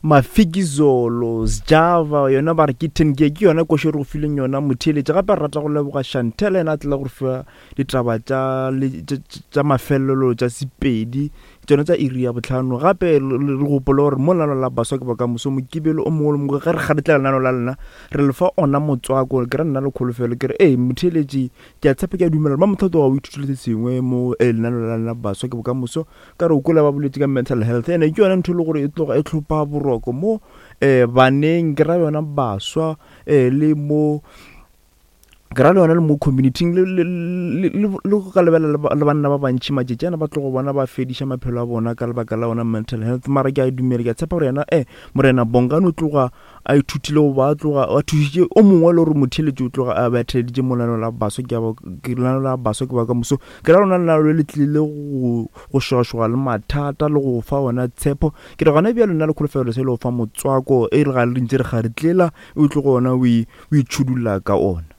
Mafikizolo, Sjava, yona ba re ke 10 gear, ke yona košo e re go fileng yona motheeletši. Gape re rata go leboga Chantel yena a tlela go re fa ditaba tša tša mafelelo tša Sepedi, tšona tša iri ya bohlano. Gape re gopole gore mo lenaneo la Baswa ke Bokamoso Mokibelo o mongwe le mongwe ge re kgaretlela lenaneo la lena re le fa ona motswako. Ke ra nna le kholofelo ke re ee motheeletši ke a tshepa ke a dumela gore Mamotho o tloga o ithutile se sengwe mo lenaneo la lena Baswa ke Bokamoso. Ka re o kwele ba boletše ka mental health ene ke yona ntho e le gore e tloga e tlhopa boroko mo um baneng ke ra yona baswa um le mo ke ra le yona le mo community-ing le go ka lebelela le banna ba bantši matšatši ana ba tlogo bona ba fediša maphelo a bona ka lebaka la ona mental health. Mara ke a dumela ke a tshepa gore yena um Morena Bongani o tloga a ithutile goba a tloga a thušitše o mongwe le gore motheeletši o tloga a be a theeleditše mo lenaneo la baswa ke ke lenaneo la baswa ke ba ka moso ke ra lona lenaneo le le tlile go go šogašoga le mathata le go fa ona tshepo ke re gona bjalo nna le kholofelo se le go fa motswako e re ga re ntse re kgaretlela o tlogo ona o itšhudulla ka ona.